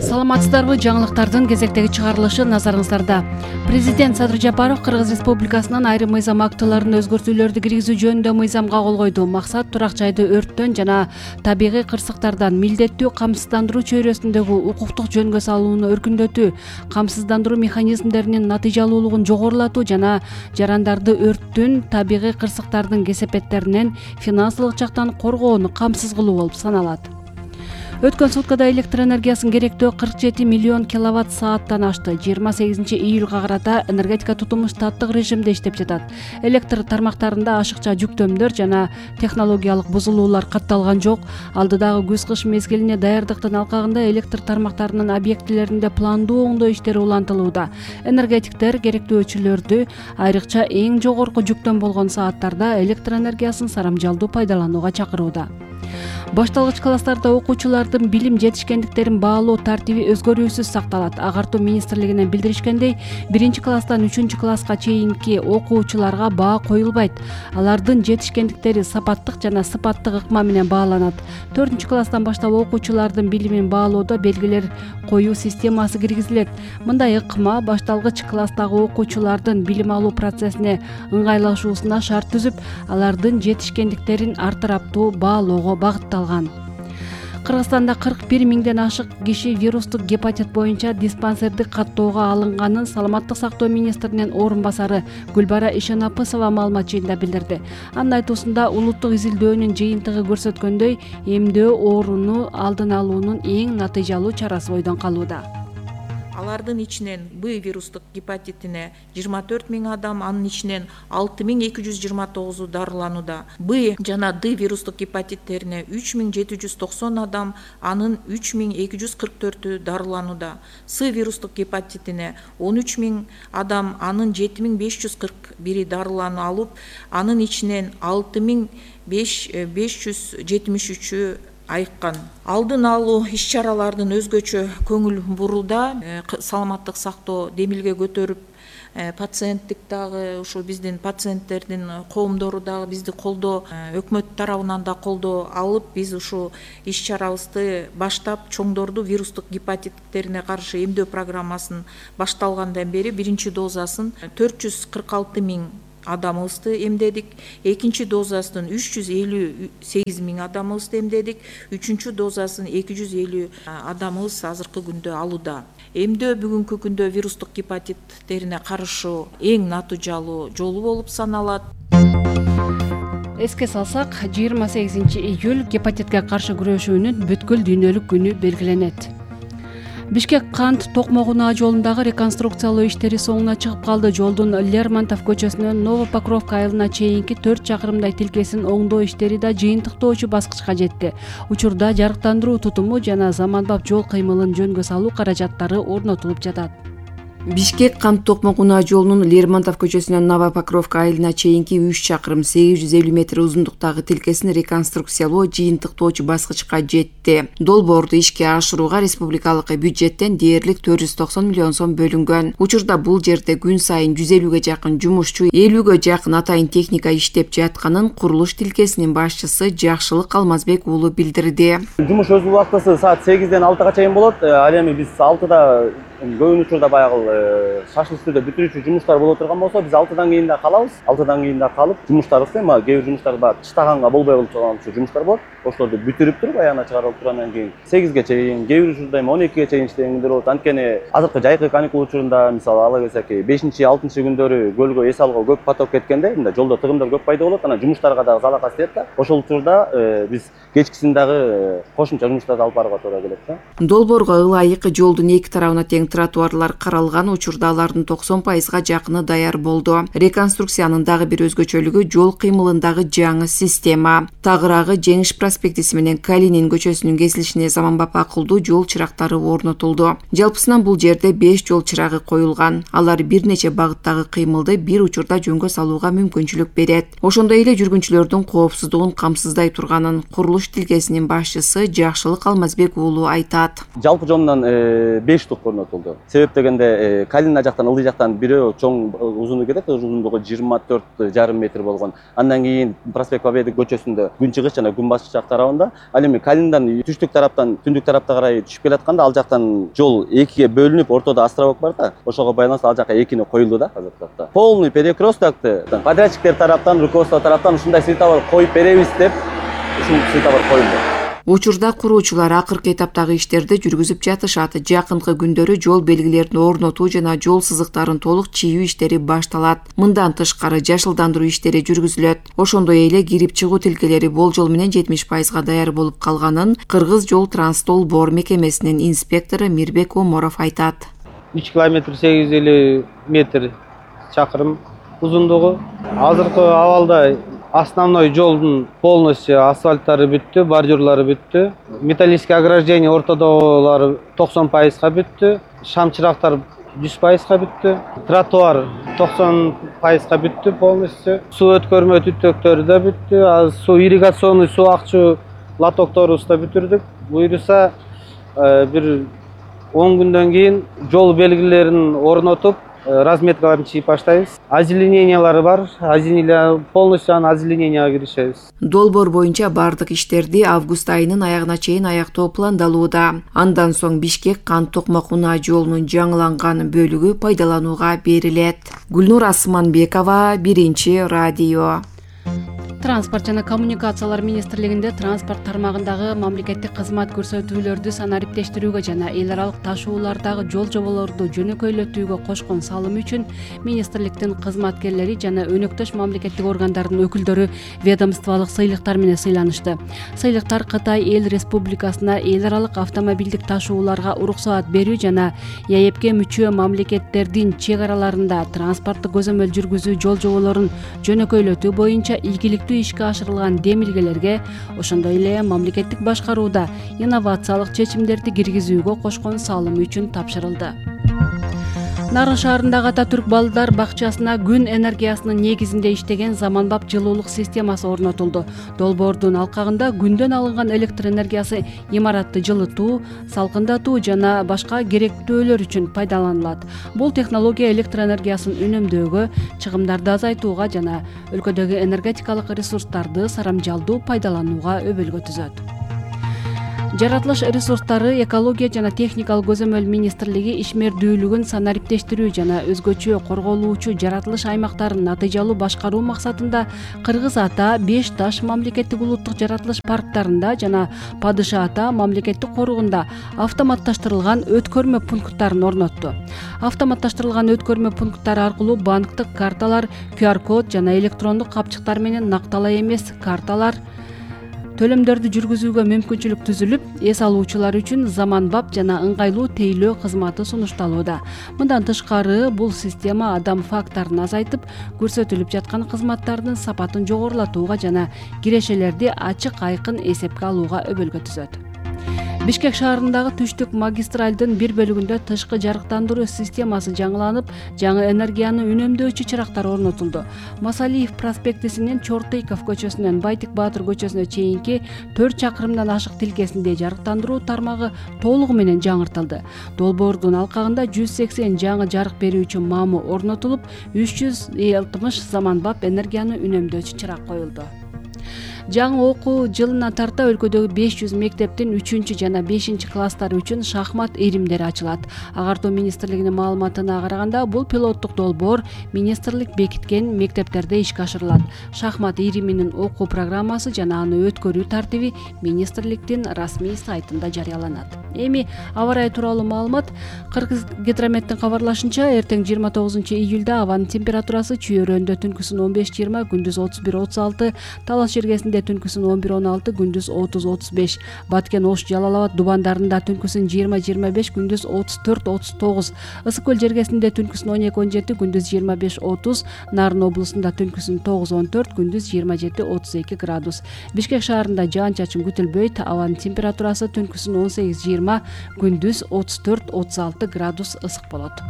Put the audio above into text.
Саламатсыздарбы? Жаңылыктардын кезектеги чыгарылышы назарыңыздарда. Президент Садыр Жапаров Кыргыз Республикасынын айрым мыйзам актыларына өзгөртүүлөрдү киргизүү жөнүндө мыйзамга кол койду. Максат турак жайды өрттөн жана табигый кырсыктардан милдеттүү камсыздандыруу чөйрөсүндөгү укуктук жөнгө салууну өркүндөтүү, камсыздандыруу механизмдеринин натыйжалуулугун жогорулатуу жана жарандарды өрттүн, табигый кырсыктардын кесепеттеринен финансылык жактан коргоону камсыз кылуу болуп саналат. Өткөн суткада электр энергиясын керектөө 47 миллион киловатт сааттан ашты. 28 июлга карата энергетика тутуму штаттык режимде иштеп жатат. Электр тармактарында ашыкча жүктөмдөр жана технологиялык бузулуулар катталган жок. Алдыдагы күз-кыш мезгилине даярдыктын алкагында электр тармактарынын объектилеринде пландуу оңдоо иштери улантылууда. Энергетиктер керектөөчүлөрдү айрыкча эң жогорку жүктөм болгон сааттарда электр энергиясын сарамжалдуу пайдаланууга чакырууда. Башталгыч класстарда окуучулардын билим жетишкендиктерин баалоо тартиби өзгөрүүсүз сакталат. Агартуу министрлигинен билдиришкендей, 1-класстан 3-класска чейинки окуучуларга баа коюлбайт. Алардын жетишкендиктери сапаттык жана сыпаттык ыкма менен бааланат. 4-класстан баштап окуучулардын билимин баалоодо белгилер коюу системасы киргизилет. Мындай ыкма башталгыч класстагы окуучулардын билим алуу процессине ыңгайлашуусуна шарт түзүп, алардын жетишкендиктерин артыраптуу баалоого багытталган. Кыргызстанда 41 миңден ашык киши вирустук гепатит боюнча диспансердик каттоого алынганын Саламаттык сактоо министринин орун басары Гүлбара Ишенапысова маалымат жыйында билдирди. Анын айтуусунда улуттук изилдөөнүн жыйынтыгы көрсөткөндөй, эмдөө ооруну алдын алуунун эң натыйжалуу чарасы бойдон калууда. Алардын ичинен Б вирустук гепатитине 24 миң адам, анын ичинен 6229 дарыланууда. Б жана Д вирустук гепатиттерине 3790 адам, анын 3244 дарыланууда. С вирустук гепатитине 13 миң адам, анын 7541 дарылануу алып, анын ичинен 6573 айыккан. Алдын алуу иш-чаралардын өзгөчө көңүл бурууда. Саламаттык сактоо демилге көтөрүп, пациенттик дагы ушу биздин пациенттердин коомдору дагы бизди колдоо, өкмөт тарабынан да колдоо алып, биз ушу иш-чарабызды баштап, чоңдорду вирустук гепатиттерине каршы эмдөө программасын башталгандан бери 1-чи дозасын 446 миң адамыбызды эмдедик, 2-чи дозасын 358 миң адамыбызды эмдедик, 3-чү дозасын 250 адамыбыз азыркы күндө алууда. Эмдөө бүгүнкү күндө вирустук гепатиттерине каршы эң натыйжалуу жолу болуп саналат. Эске салсак, 28 июль гепатитке каршы күрөшүүнүн бүткүл дүйнөлүк күнү белгиленет. Бишкек-Кант Токмок-Унаа жолундагы реконструкциялоо иштери соңуна чыгып калды. Жолдун Лермонтов көчөсүнөн Новопокровка айылына чейинки 4 чакырымдай тилкесин оңдоо иштери да жыйынтыктоочу баскычка жетти. Учурда жарыктандыруу тутуму жана заманбап жол кыймылын жөнгө салуу каражаттары орнотулуп жатат. Бишкек-Кант Токмок-Унаа жолунун Лермонтов көчөсүнөн Новопокровка айылына чейинки 3 чакырым 850 метр узундуктагы тилкесин реконструкциялоо жыйынтыктоочу баскычка жетти. Долбоорду ишке ашырууга республикалык бюджеттен дээрлик 490 миллион сом бөлүнгөн. Учурда бул жерде күн сайын 150ге жакын жумушчу, 50ге жакын атайын техника иштеп жатканын курулуш тилкесинин башчысы Жакшылык Алмазбек уулу билдирди. Жумуш өз убактысы саат 8ден 6га чейин болот. Ал эми биз 6да көбүн учурда баягы шашыл үстүдө бүтүрүүчү жумуштар боло турган болсо, биз 6дан кийин да калабыз. 6дан кийин да калып, жумуштарыбызды эми кээ бир жумуштар бар, чыштаганга болбой калып турган жумуштар болот. Ошолорду бүтүрүп туруп, аягына чыгарып тургандан кийин 8ге чейин, кээ бир учурда эми 12ге чейин иштегендер болот. Анткени азыркы жайкы каникул учурунда, мисалы ала келсек, 5-6 күндөрү көлгө эс алууга көп поток кеткенде, мындай жолдо тыгымдар көп пайда болот. Анан жумуштарга дагы залакат тиет да. Ошол учурда биз кечкисин дагы кошумча жумуштарды алып барууга туура келет да. Долбоорго ылайык жолдун эки тарабына тең тротуарлар каралган. Учурда алардын 90%га жакыны даяр болду. Реконструкциянын дагы бир өзгөчөлүгү жол кыймылындагы жаңы система. Тагыраагы Жеңиш проспектиси менен Калинин көчөсүнүн кесилишине заманбап акылдуу жол чырактары орнотулду. Жалпысынан бул жерде 5 жол чырагы коюлган. Алар бир нече багыттагы кыймылды бир учурда жөнгө салууга мүмкүнчүлүк берет. Ошондой эле жүргүнчүлөрдүн коопсуздугун камсыздай турганын курулуш тилкесинин башчысы Жакшылык Алмазбек уулу айтат. Жалпы жонунан 5 тук орнотулду. Себеп дегенде Калина жактан, Ылдый жактан бирөө чоң узуну кетет, узундугу 24,5 метр болгон. Андан кийин Проспект Победы көчөсүндө күнчыгыш жана күнбатыш жак тарабында, ал эми Калиндан түштүк тараптан түндүк тарапка карай түшүп келатканда ал жактан жол экиге бөлүнүп, ортодо островок бар да, ошого байланыштуу ал жака экини коюлду да азыркы убакта. Полный перекресткты подрядчиктер тараптан, руководство тараптан ушундай светофор коюп беребиз деп, ушул светофор коюлду. Учурда куруучулар акыркы этаптагы иштерди жүргүзүп жатышат. Жакынкы күндөрү жол белгилерин орнотуу жана жол сызыктарын толук чийүү иштери башталат. Мындан тышкары жашылдандыруу иштери жүргүзүлөт. Ошондой эле кирип чыгуу тилкелери болжол менен 70% даяр болуп калганын Кыргыз жол Транстолбор мекемесинин инспектору Мирбек Оморов айтат. 3 километр 850 метр чакырым узундугу. Азыркы абалда основной жолдун полностью асфальттары бүттү, бордюрлары бүттү. Металлический ограждение ортодогулары 90%га бүттү. Шам чырактар 100%га бүттү. Тротуар 90%га бүттү полностью. Суу өткөрмө түтөктөрү да бүттү. Суу ирригационный суу акчуу лотокторубузду да бүтүрдүк. Буюрса бир 10 күндөн кийин жол белгилерин орнотуп, разметкаларын чийип баштайбыз. Озеленениялары бар. Полностью озелененияга киришебиз. Долбоор боюнча бардык иштерди август айынын аягына чейин аяктоо пландалууда. Андан соң Бишкек Кант Токмок унаа жолунун жаңыланган бөлүгү пайдаланууга берилет. Гүлнур Асманбекова, Биринчи радио. Транспорт жана коммуникациялар министрлигинде транспорт тармагындагы мамлекеттик кызмат көрсөтүүлөрдү санариптештирүүгө жана эл аралык ташуулардагы жол жоболорду жөнөкөйлөтүүгө кошкон салымы үчүн министрликтин кызматкерлери жана өнөктөш мамлекеттик органдардын өкүлдөрү ведомстволук сыйлыктар менен сыйланышты. Сыйлыктар Кытай Эл Республикасына эл аралык автомобилдик ташууларга уруксаат берүү жана ЕАЭПке мүчө мамлекеттердин чек араларында транспорттук көзөмөл жүргүзүү жол жоболорун жөнөкөйлөтүү боюнча ийгиликтүү ишке ашырылган демилгелерге, ошондой эле мамлекеттик башкарууда инновациялык чечимдерди киргизүүгө кошкон салымы үчүн тапшырылды. Нарын шаарындагы Ататүрк балдар бакчасына күн энергиясынын негизинде иштеген заманбап жылуулук системасы орнотулду. Долбоордун алкагында күндөн алынган электр энергиясы имаратты жылытуу, салкындатуу жана башка керектөөлөр үчүн пайдаланылат. Бул технология электр энергиясын үнөмдөөгө, чыгымдарды азайтууга жана өлкөдөгү энергетикалык ресурстарды сарамжалдуу пайдаланууга өбөлгө түзөт. Жаратылыш ресурстары, экология жана техникалык көзөмөл министрлиги ишмердүүлүгүн санариптештирүү жана өзгөчө корголуучу жаратылыш аймактарын натыйжалуу башкаруу максатында Кыргыз Ата, Беш Таш мамлекеттик улуттук жаратылыш парктарында жана Падыша Ата мамлекеттик коругунда автоматташтырылган өткөрмө пункттарын орнотту. Автоматташтырылган өткөрмө пункттары аркылуу банктык карталар, QR-код жана электрондук капчыктар менен накталай эмес карталар төлөмдөрдү жүргүзүүгө мүмкүнчүлүк түзүлүп, эс алуучулар үчүн заманбап жана ыңгайлуу тейлөө кызматы сунушталууда. Мындан тышкары, бул система адам фактарын азайтып, көрсөтүлүп жаткан кызматтардын сапатын жогорулатууга жана кирешелерди ачык айкын эсепке алууга өбөлгө түзөт. Бишкек шаарындагы түштүк магистралдын бир бөлүгүндө тышкы жарыктандыруу системасы жаңыланып, жаңы энергияны үнөмдөөчү чырактар орнотулду. Масалиев проспектисинен Чортыйков көчөсүнөн Байтик Баатыр көчөсүнө чейинки 4 чакырымдан ашык тилкесинде жарыктандыруу тармагы толугу менен жаңыртылды. Долбоордун алкагында 180 жаңы жарык берүүчү мамы орнотулуп, 360 заманбап энергияны үнөмдөөчү чырак коюлду. Жаңы окуу жылына тарта өлкөдөгү 500 мектептин 3 жана 5 класстары үчүн шахмат иримдери ачылат. Агартуу министрлигинин маалыматына караганда, бул пилоттук долбоор министрлик бекиткен мектептерде ишке ашырылат. Шахмат ириминин окуу программасы жана аны өткөрүү тартиби министрликтин расмий сайтында жарыяланат. Эми аба ырайы тууралуу маалымат. Кыргыз гидрометтин кабарлашынча, эртең 29 июлда абанын температурасы Чүйөрөндө түнкүсүн 15-20, күндүз 31-36, Талас жергесинде түнкүсүн 11-16, күндүз 30-35, Баткен, Ош, Жалал Абад дубандарында түнкүсүн 20-25, күндүз 34-39, Ысык көл жергесинде түнкүсүн 12-17, күндүз 25-30, Нарын облусунда түнкүсүн 9-14, күндүз 27-32 градус. Бишкек шаарында жаан-чачын күтүлбөйт, абанын температурасы түнкүсүн 18-20, күндүз 34-36 градус ысык болот.